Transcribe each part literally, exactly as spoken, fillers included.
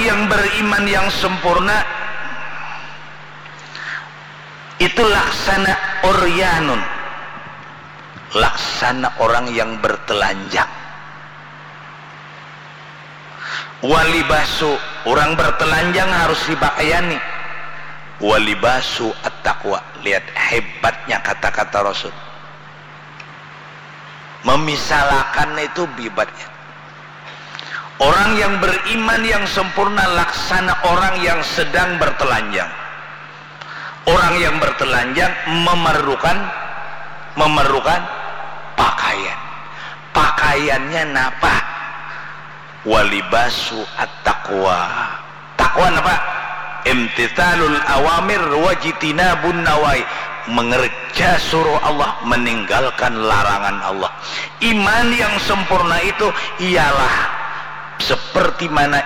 yang beriman yang sempurna itu laksana uryanun, laksana orang yang bertelanjang. Walibasu, orang bertelanjang harus dipakaiani. Walibasu at-taqwa. Lihat hebatnya kata-kata Rasul. Memisalakan itu bibatnya. Orang yang beriman yang sempurna laksana orang yang sedang bertelanjang. Orang yang bertelanjang memerlukan, memerlukan pakaian. Pakaiannya napa? Walibasu at-taqwa. Takwa napa? Imtithalul awamir wajtinabun nawahi. Mengerja suruh Allah, meninggalkan larangan Allah. Iman yang sempurna itu ialah seperti mana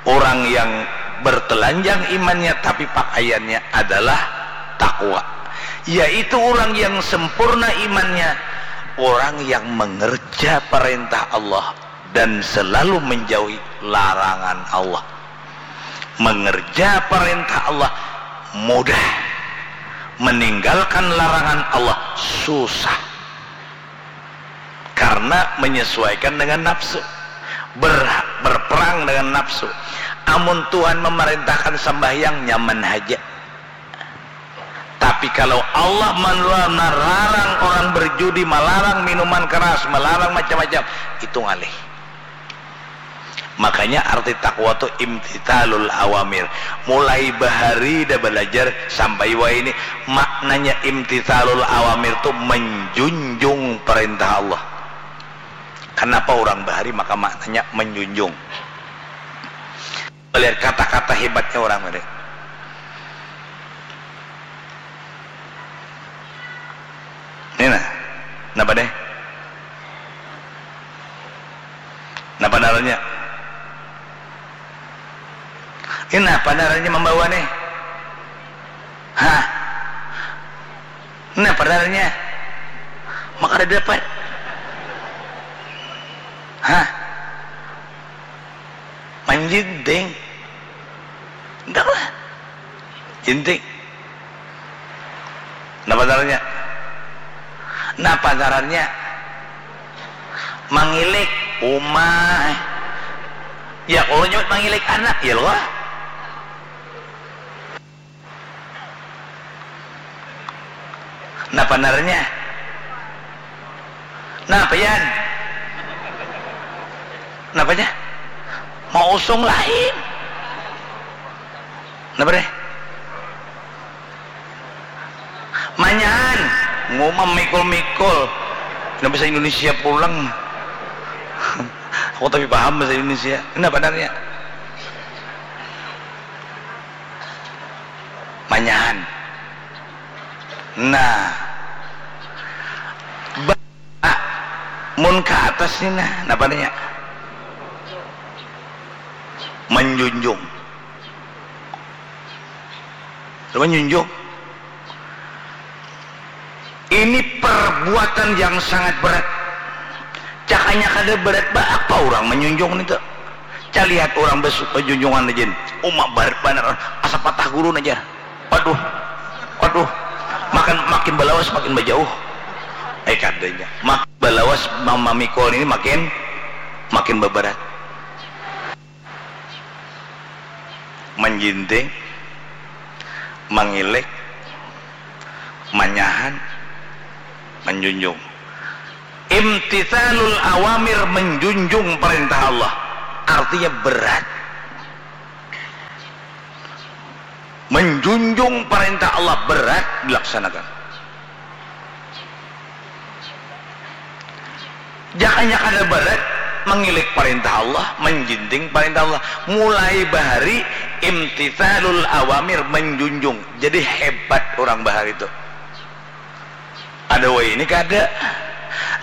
orang yang bertelanjang imannya tapi pakaiannya adalah takwa, yaitu orang yang sempurna imannya, orang yang mengerja perintah Allah dan selalu menjauhi larangan Allah. Mengerja perintah Allah mudah, meninggalkan larangan Allah susah. Karena menyesuaikan dengan nafsu. Ber-, berperang dengan nafsu. Amun Tuhan memerintahkan sembahyang, nyaman haja. Tapi kalau Allah menlarang orang berjudi, melarang minuman keras, melarang macam-macam, itu ngalih. Makanya arti takwa tu imtithalul awamir. Mulai bahari dah belajar sampai wahini, maknanya imtithalul awamir tu menjunjung perintah Allah. Kenapa orang bahari maka maknanya menjunjung? Lihat kata-kata hebatnya orang tadi. Ini nah, napa deh? Napa ngarannya? Ini napa ngarannya membawa nih? Hah? Napa ngarannya? Maka ada dapat. Hah? Manjinting. Enggak lah. Jinting. Napa ngarannya? Napa ngarannya? Mangilik uma. Ya, kalau nyebut mangilik anak, ya loh. Napa ngarannya? Napa, Yan? Napanya? Mau usung lain? Napa deh? Manyahan. Ngumam mikul-mikul. Nggak bisa Indonesia pulang. Aku tapi paham bahasa Indonesia. Napa ngarannya? Manyahan. Nah. Ba-, mun ka atas ni nah, napa nya? Manjunjung. Manjunjung. Ini perbuatan yang sangat berat. Cakanya kada berat, ba apa urang manjunjung nitu? Calihat urang bas-, bajunjungan aja. Uma berat banar, asa patah gurun aja. Waduh, waduh, makin, makin balawas makin bajauh. Eh, kadanya. Makin balawas ma-, mamikul ini makin, makin babarat. Manjinting, mangilik, manyahan, manjunjung. Imtithalul awamir, menjunjung perintah Allah. Artinya berat. Menjunjung perintah Allah berat dilaksanakan. Jakanya kada barat mangilik parintah Allah, manjinting parintah Allah. Mulai bahari imtithalul awamir, manjunjung. Jadi hebat urang bahari tu. Ada wahini kada.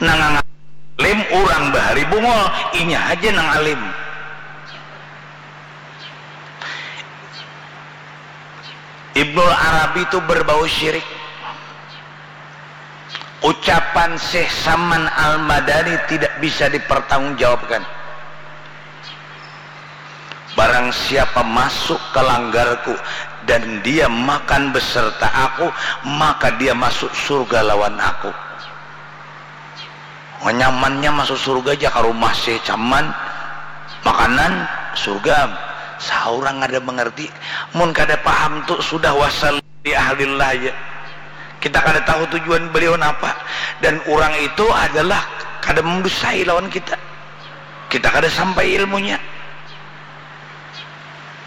Nang alim urang bahari bungul, inya haja nang alim. Ibnul Arabi tu berbau syirik. Ucapan Syekh Saman Al-Madani tidak bisa dipertanggungjawabkan. Barang siapa masuk ke langgarku dan dia makan beserta aku, maka dia masuk surga lawan aku. Nyamannya masuk surga aja, ka rumah sih caman, makanan surga. Saurang ada mengerti, mun kada paham tu sudah wasal di ahlillah aja. Kita kada tahu tujuan beliau napa, dan orang itu adalah kada mendusai lawan kita. Kita kada sampai ilmunya.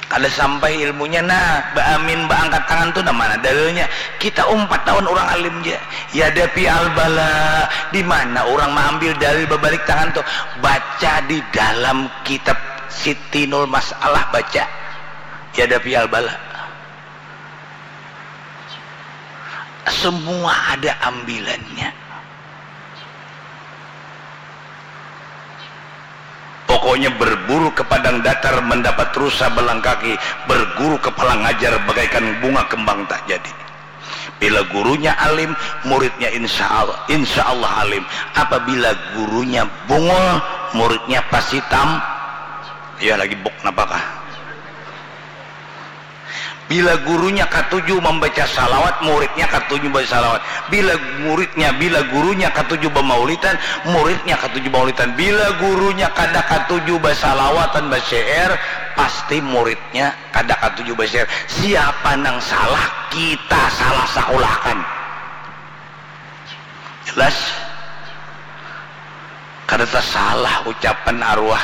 Kada sampai ilmunya. Nah, baamin, baangkat tangan tu nah mana dalilnya? Kita umpat lawan urang alim ja. Yadafi al bala, di mana urang maambil dalil babalik tangan tu? Baca di dalam kitab Sitinul Masalah, baca. Yadafi al bala. Semua ada ambilannya. Pokoknya berburu ke padang datar mendapat rusa belang kaki, berguru kepala ngajar bagaikan bunga kembang tak jadi. Bila gurunya alim, muridnya insya Allah, insya Allah alim. Apabila gurunya bungul, muridnya pasti tam. Ya lagi buk napakah? Bila gurunya katuju membaca salawat, muridnya katuju baca salawat. Bila muridnya, bila gurunya katuju bamaulitan, muridnya katuju bamaulitan. Bila gurunya kada katuju basalawatan, basyair, pasti muridnya kada katuju basyair. Siapa nang salah, kita salah sakulakan. Jelas? Kada tasalah ucapan arwah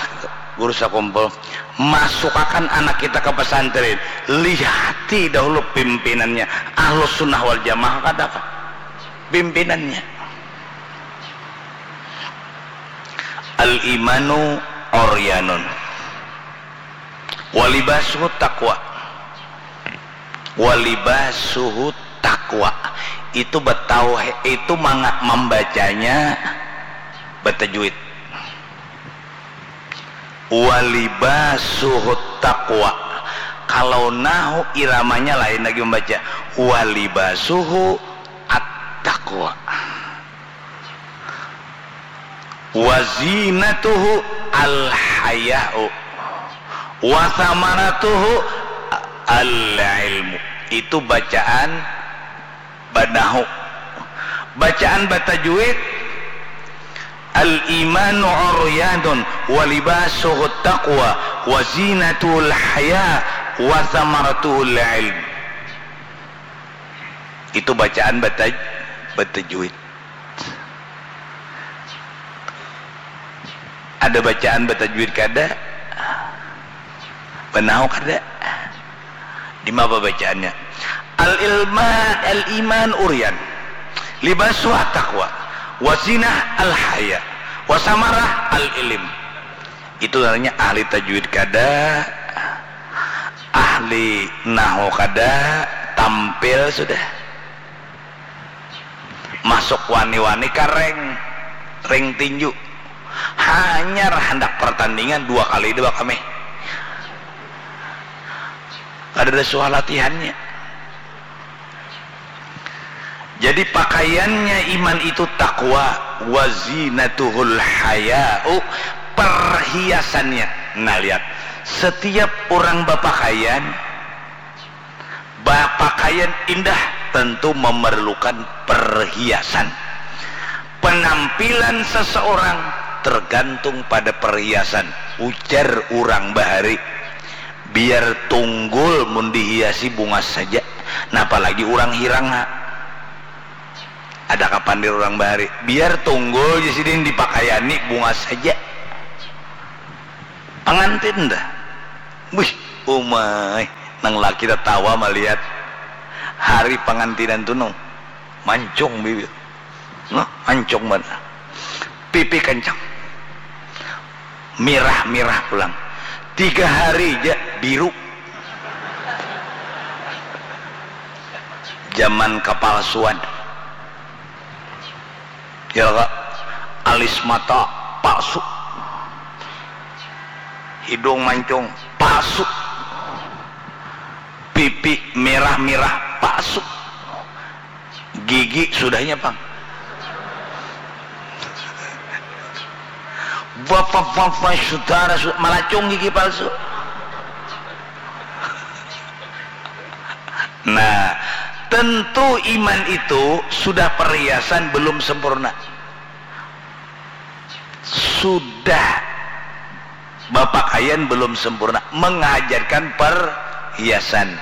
guru sakumpul. Masukakan anak kita ke pesantren, lihati dahulu pimpinannya. Ahlus Sunnah wal Jamaah kada kah? Pimpinannya. Al imanu uryanun. Walibasuhu taqwa. Walibasuhu taqwa. Itu betauhid, itu manga-, membacanya betajwid. Walibasuhu taqwa. Kalau nahu iramanya lain lagi membaca. Walibasuhu at-taqwa. Wazinatuhu al-haya'u. Wasamaratuhu al-ilmu. Itu bacaan banahu. Bacaan batajwid, al-imanu uryanun, walibasuhu taqwa, wazinatuhu al-haya, wasamaratuhu al-ilm. Itu bacaan bataj-, batajwid. Ada bacaan batajwid kada? Banahu kada? Di mana bacaannya? Al ilma, al iman uryan. Libasu at-taqwa. Wazinah al haya. Wasamarah al ilim. Itu namanya ahli tajwid kada, ahli nahu kada, tampil sudah. Masuk wani-wani ka ring, ring tinju. Hanyar handak pertandingan dua kali dua kami. Kada ada suah latihannya. Jadi pakaiannya iman itu takwa, wazinatuhul haya'u, perhiasannya. Nah, lihat, setiap orang bapakaian, bapakaian indah tentu memerlukan perhiasan. Penampilan seseorang tergantung pada perhiasan, ujar urang bahari. Biar tunggul mun dihiasi bungas saja, nah apalagi urang hirang ha. Ada kapandir urang bahari, biar tunggul ja sidin dipakaiani bungas saja. Pangantin dah. Wih, umai, nang laki tatawa malihat hari pangantinan tu nang mancung bibir. Nah, mancung banar. Pipi kencang. Mirah-mirah pulang. Tiga hari ja biru. Zaman kapalsuan. Ya, Kak. Alis mata palsu. Hidung mancung palsu. Pipi mirah-mirah palsu. Gigi sudahnya, pang. Bapak-bapak, saudara, su-, malacung gigi palsu. Nah, tentu iman itu sudah perhiasan belum sempurna. Sudah bapakaian belum sempurna, menghajatkan perhiasan.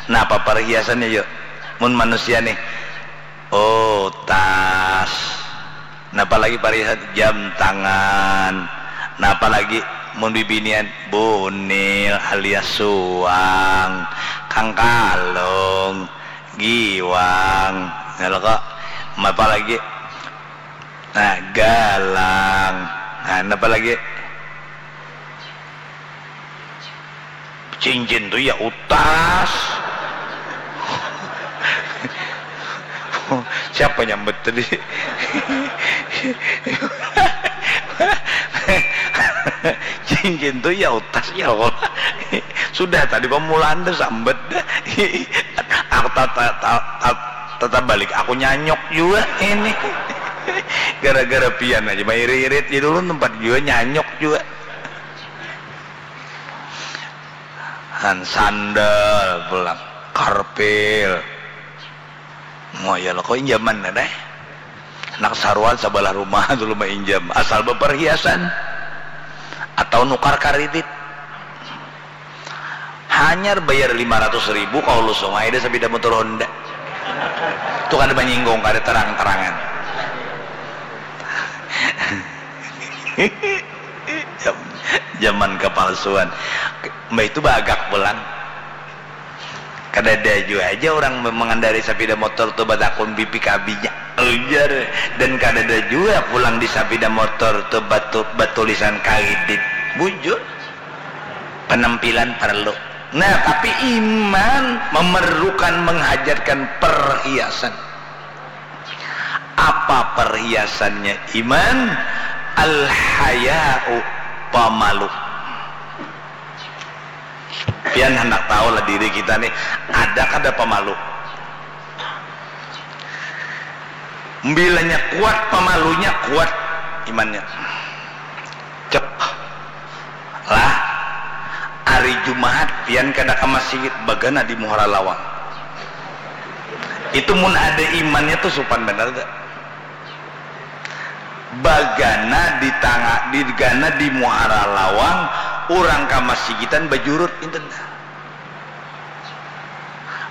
Napa perhiasannya, yuk? Mun manusia nih, oh, tas. Napa lagi perhiasan? Jam tangan. Napa lagi? Mun bibinian, bunil alias suang, kangkalung, giwang. Nah, lo kok. Napa lagi? Nah, galang. Nah, napa lagi? Cincin tu ya utas. Siapa nyambet tadi? Cincin tu ya utas ya Allah. Sudah tadi pamulaan tu sambet. Aku tata, tata, tata balik, aku nyanyok juga ini. Gara-gara pian aja mairit-irit jadi ulun tempat juga nyanyok juga. Han sandal pulang, karpil. Moyal kau injaman nih deh. Anak saruan sebelah rumah dulu mainjam asal beperhiasan atau nukar karidit. Hanyar bayar lima ratus ribu kau lusung aja deh sepeda motor Honda. Itu kada menyinggung, kada terang-terangan. Zaman kepalsuan. Mbah itu bagak pulang. Kadada jua aja orang mengendari sepeda motor tu batakun B P K B-nya. Ujar. Dan kadada jua pulang di sepeda motor tu batu, batulisan kaidit. Bujur. Penampilan perlu. Nah, tapi iman memerlukan, menghajatkan perhiasan. Apa perhiasannya iman? Al-haya'u, pamalu. Pian handak tahu lah diri kita nih, ada kada pamalu? Bilanya kuat pamalunya, kuat imannya. Cek. Lah, hari Jumaat pian kada ka masjid, bagana di muhara lawang. Itu mun ada imannya tuh supan banar dah. Bagana di tanga, digana di muhara lawang, urang ka masjidan bajurut inten.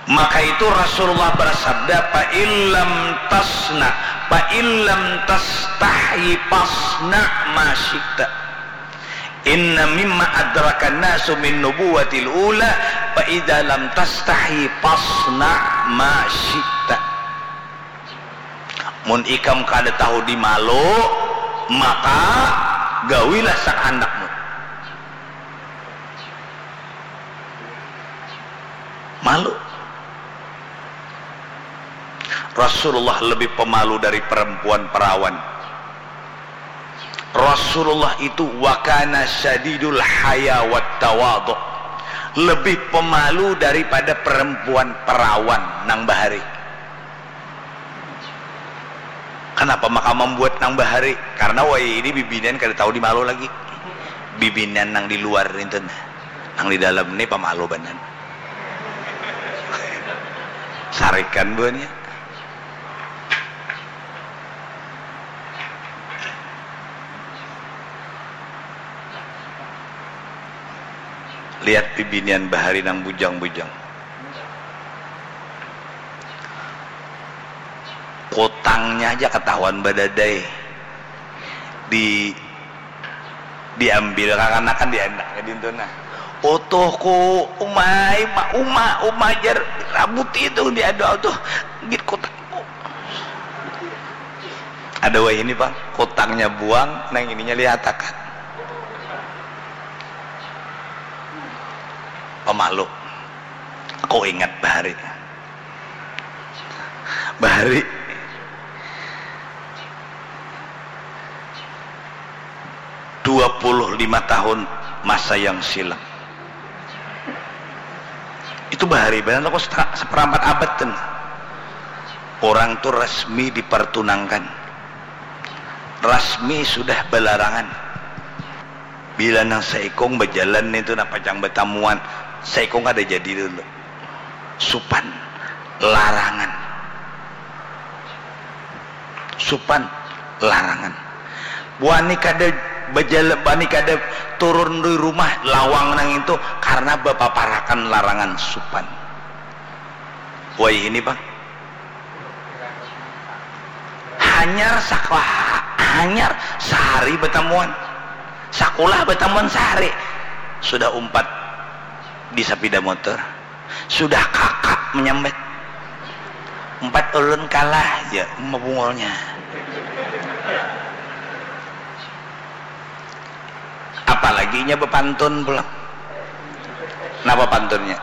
Maka itu Rasulullah bersabda, "Fa illam tasna, fa illam tastahyi fasna ma syi'ta. Inna mimma adrakan nasu min nubuwatil ula, fa idza lam tastahyi fasna ma syi'ta." Mun ikam kada tahu dimalu, maka gawilah sakandak mu. Malu. Rasulullah lebih pemalu dari perempuan perawan. Rasulullah itu wakana syadidul haya wat tawadhu, lebih pemalu daripada perempuan perawan nang bahari. Kenapa maka membuat nang bahari? Karena wayah ini bibinian kada tahu di malu lagi. Bibinian nang di luar itu nah. Nang di dalam ini pemalu banar. Sarikan buahnya. Lihat bibinian bahari nang bujang-bujang. Kutangnya aja ketahuan badadai. Di, diambil kakanakan diandaknya dintu nah. Utuhku, umai, ma, uma, uma jar rabuti itu diadu tuh. Git kutangku. Ada wahini pang, kutangnya buang, nang ininya lihatakan. Pemalu. Aku ingat bahari. Bahari dua puluh lima tahun masa yang silam. Itu bahari banar aku seperampat abad tuh. Orang tuh resmi dipertunangkan. Resmi sudah belarangan. Bila nang saikung bajalan itu nah pacang batamuan, saikung kada jadi dulu. Supan. larangan. Supan, larangan. Wani kada bajala, wani kada turun di rumah lawang nang itu karena bapaparakan larangan supan. Wai ini, Bang. Hanyar sakolah, hanyar sahari batamuan. Sakulah batamuan sahari. Sudah umpat di sapida motor. Sudah kakak menyambat. Umpat ulun kalah, ya, mabungulnya. Apalagi inya bapantun pulang. Napa pantunnya?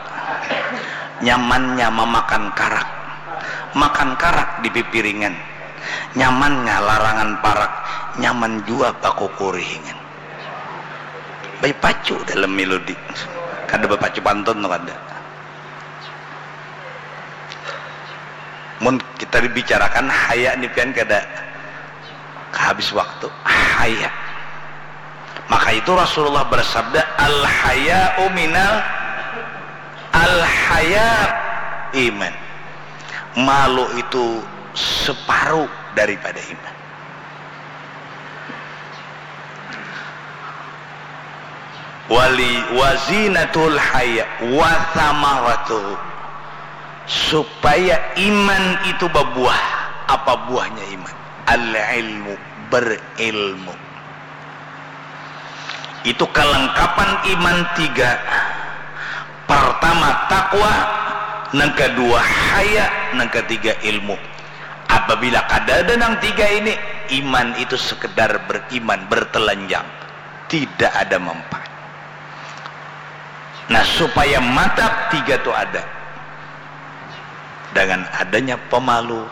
Nyamannya mamakan karak. Makan karak di pipiringan. Nyamannya larangan parak. Nyaman jua bakukurihingan. Bapacu dalam melodi. Kada bapacu pantun tu kada. Mun kita dibicarakan haya ni pian kada habis waktu. Haya. Maka itu Rasulullah bersabda, "Al-haya'u minal, al-haya iman." Malu itu separuh daripada iman. Wali wazinatul haya wa samaratuhu, supaya iman itu babuah. Apa buahnya iman? Al ilmu, berilmu. Itu kelengkapan iman tiga. Pertama takwa, nang kedua haya, nang ketiga ilmu. Apabila kada ada nang tiga ini, iman itu sekedar beriman bertelanjang, tidak ada manfaat. Nah, supaya mantap tiga tu ada, dengan adanya pemalu,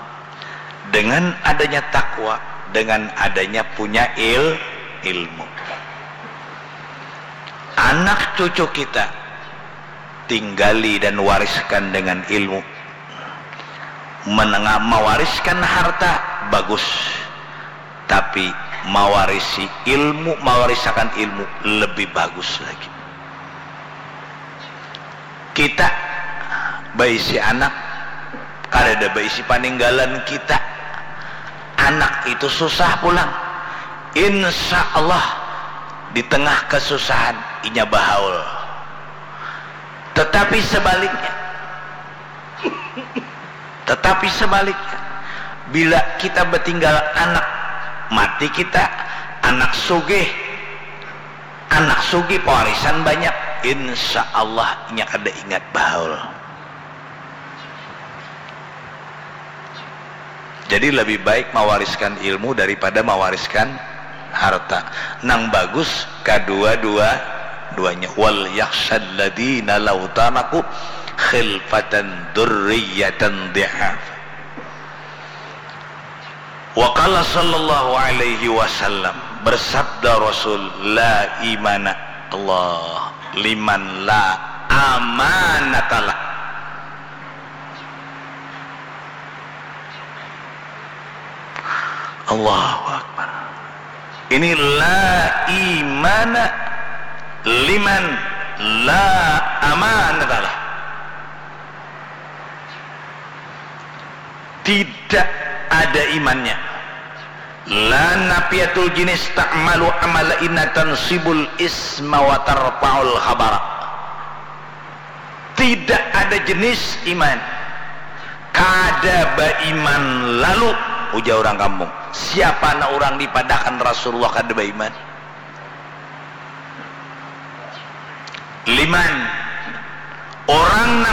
dengan adanya takwa, dengan adanya punya il ilmu. Anak cucu kita tinggali dan wariskan dengan ilmu. Menengah mewariskan harta bagus, tapi mewarisi ilmu, mewarisakan ilmu lebih bagus lagi. Kita baisi anak, kadada baisi paninggalan kita. Anak itu susah pulang. Insya Allah di tengah kesusahan inya bahaul. Tetapi sebaliknya, tetapi sebaliknya, bila kita betinggal anak, mati kita, anak sugih, anak sugih pewarisan banyak, insya Allah inya kada ingat bahaul. Jadi lebih baik mewariskan ilmu daripada mewariskan harta. Nang bagus kadua-dua-duanya. Wal yakhsyalladzina law taraku khilfatan dzurriyyatan dhi'af. Wa qala sallallahu alaihi wasallam, bersabda Rasul, la imana, Allah, liman la amanatalah. Allahu Akbar. Ini la imana liman la amanatalah. Tidak ada imannya. La nafiyatul jinis ta'malu amala inna tansibul isma wa tarfa'ul khabara. Tidak ada jenis iman kada baiman lalu, ujar orang kampung. Siapa nak orang dipadakan Rasulullah kada baiman? Liman, orang nang